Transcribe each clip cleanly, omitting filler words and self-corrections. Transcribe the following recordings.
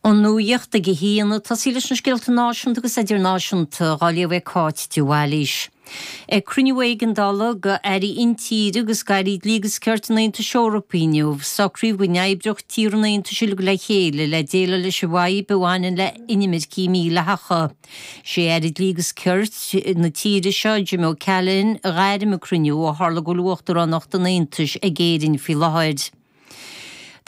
An nuacht ag a haon, ag tosaí leis na scéalta náisiúnta agus idirnáisiúnta, dhá léamh ag Cáit de Bhailís. Ag cruinniú éigeandála go airí intíre agus d'airí dlí agus cirt an Aontais Eorpaigh inniu, socraíodh go n-oibreodh tíortha an Aontais uilig le chéile le déileáil leis an bhfadhb a bhaineann le inimircigh mhídhleathacha. Sé Aire Dlí agus Cirt na tíre seo, Jim O'Callaghan, a ghairm an cruinniú ó tharla go bhfuil uachtaránacht an Aontais ag Éirinn faoi láthair.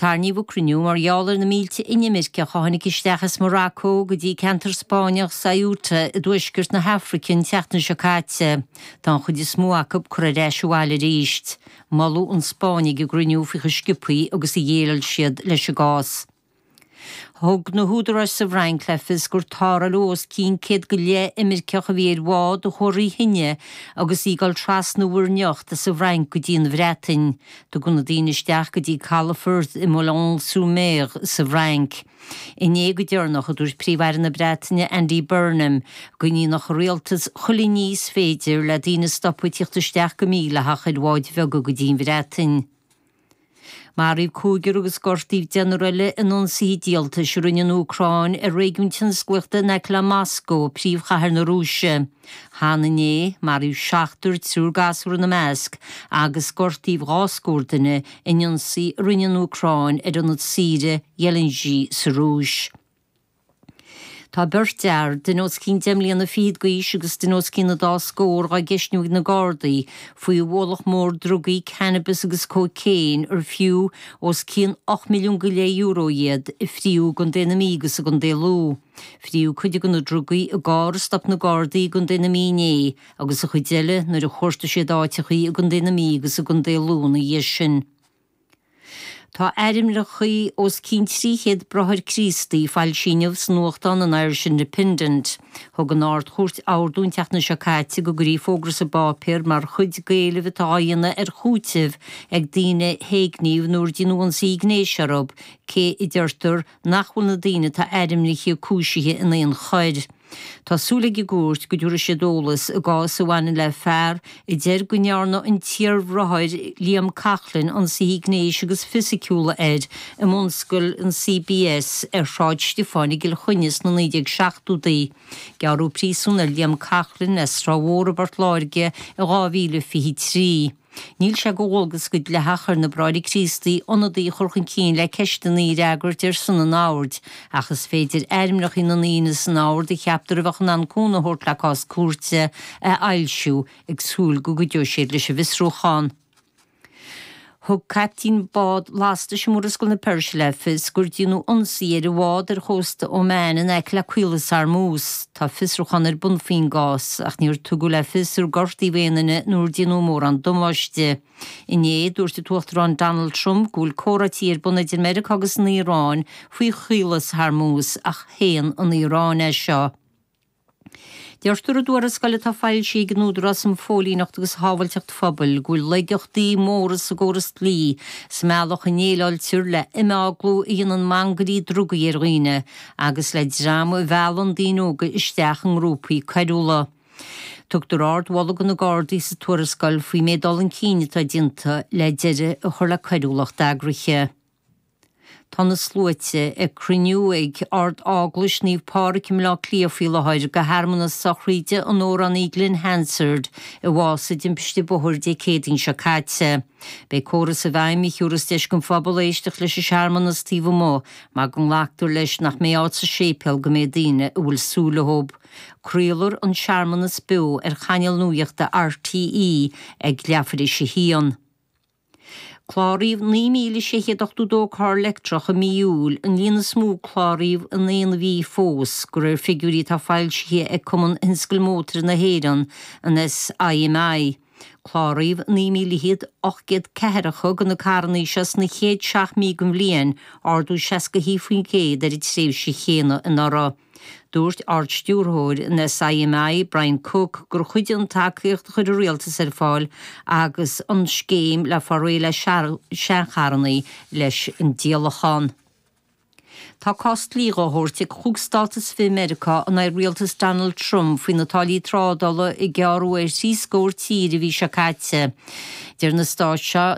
Tarraingíodh an cruinniú mar gheall ar na mílte inimirceach a tháinig isteach as Morocco go dtí ceantar Spáinneach Ceuta i dtuaisceart na hAfraice an tseachtain seo caite. Tá an chuid is mó acu curtha ar ais abhaile arís. Moladh an Spáinn ag an gcruinniú faoi chomh sciobtha agus a dhéileáil siad leis an gcás. Thug na húdaráis sa bhFrainc le fios gur tarrtháladh os cionn 100 go leith imirceach a bhí ar bhád a chuaigh thrí thine agus í ag dul trasna Mhuir nIocht as an bhFrainc go dtí an Bhreatain. Tugadh na daoine isteach go dtí calafort i Boulogne-sur-Mer sa bhFrainc. Inné go deireanach, a dúirt Príomh-Aire na Breataine Andy Burnham go ndéanfadh a rialtas chuile ní is féidir le daoine a stopadh ag tíocht isteach go mídhleathach ar bháid bheaga go dtí an Bhreatain. Maraíodh cúigear agus gortaíodh deichniúr eile in ionsaithe díoltais a rinne an Úcráin ar réigiún tionsclaíochta in aice le Moscó, príomhchathair na Rúise. Cheana inné, maraíodh seachtar, triúr gasúr ina measc, agus gortaíodh dhá scór duine in ionsaí a rinne an Úcráin ar ionad saoire Ghelendzhik sa Rúis. Tá beirt fhear, duine os cionn deich mbliana fichead d'aois agus duine os cionn an dá scór, dhá gceistniú ag na Gardaí faoi ualach mór drugaí, cannabis agus cócaon ar fiú os cionn €8 milliún go leith euro iad, a fríodh i gContae na Mí agus i gContae Lú. Fríodh cuid de na drugaí i gcarr a stop na Gardaí i gContae na Mí inné agus an chuid eile nuair a chuartaigh siad áiteachaí i gContae na Mí agus i gContae Lú ina dhiaidh sin. Tá ainmneacha os cionn 300 Bráthair Críostaí foilsithe inniu sa nuachtán an Irish Independent. Thug an Ard-Chúirt ordú an tseachtain seo caite go gcuirfí fógra sa bpáipéar mar chuid d'éileamh atá á dhéanamh ar chúiteamh ag daoine a héigníodh nó ar déanadh ionsaí gnéis orthu, cé a deirtear nach bhfuil na daoine atá ainmnithe cúisithe in aon choir. Tá súil ag an gcúirt go dtabharfaidh siad eolas i gcás a bhaineann le fear a deir go ndearna an t-iarbhráthair Liam Coughlan ionsaithe gnéis agus fisiciúla air i mbunscoil an CBS ar Shráid Stiofáin i gCill Chainnigh sna 1970idí. Gearradh príosún ar Liam Coughlan as Sráth Mhór i bPort Láirge i 2023. Níl sé de dhualgas go dleathach ar na Bráithre Críostaí ionadaí a chur chun cinn le ceisteanna a fhreagairt ar son an oird, ach is féidir ainmneacha na ndaoine san ord a cheaptar a bheadh in ann cúnamh a thabhairt le cás cúirte a fhoilsiú, ag súil go gcuideoidh siad leis an bhfiosrúchán. Thug caiptín bád lastais i Murascaill na Peirse le fios gur déanadh ionsaí ar a bhád ar chósta Oman in aice le Caolas Hormuz. Tá fiosrúchán ar bun faoin gcás, ach níor tugadh le fios ar gortaíodh aon duine nó ar déanadh mórán damáiste. Inné, dúirt an tUachtarán Donald Trump go bhfuil comhráití ar bun idir Meiriceá agus an Iaráin faoi Chaolas Hormuz, ach shéan an Iaráin é seo. Deirtear i dtuarascáil atá foilsithe ag an Údarás um Phóilíneacht agus Shábháilteacht Phobail go bhfuil laigeachtaí móra sa gcóras dlí sa mbealach a ndéileáiltear le himeaglú a dhéanann mangairí drugaí ar dhaoine agus le dream a mheallann daoine óga isteach i ngrúpaí coiriúla. Tugtar ardmholadh do na Gardaí sa tuarascáil faoin méid dul chun cinn atá déanta le deireadh a chur le coiriúlacht eagraithe. Tá na sluaite ag cruinniú ag Ard-Eaglais Naomh Pádraig i mBleá Cliath faoi láthair do shearmanas sochraide an amhránaí Glen Hansard a bhásaigh i dtimpiste bóthair Dé Céadaoin seo caite. Beidh córas i bhfeidhm a thiúrfas deis don phobal éisteacht leis an searmanas taobh amuigh mar go nglactar leis nach mbeidh áit sa séipéal don méid daoine a bhfuil súil leo. Craolfar an searmanas beo ar chainéal nuachta RTÉ ag leathuair théis a haon. Cláraíodh 9,682 carr leictreach i mí Iúil, an líon is mó a cláraíodh in aon mhí fós, de réir figiúirí atá foilsithe ag Cumann Thionscal Mótair na hÉireann, an SIMI. Cláraíodh 9,804 de na carranna seo sna chéad seacht mí den bhliain, ardú 61% ar an tréimhse chéanna anuraidh. Dúirt Ard-Stiúrthóir an SIMI, Brian Cooke, gur chuidigh an tacaíocht a chuir an Rialtas ar fáil agus an scéim le fáil réidh le seancharranna leis an díolachán. Tá cás dlí dhá thabhairt ag chúig stát is fiche i Meiriceá in aghaidh rialtas Donald Trump faoi na táillí trádála a gearradh ar thrí scór tír an mhí seo caite. Deir na stáit seo.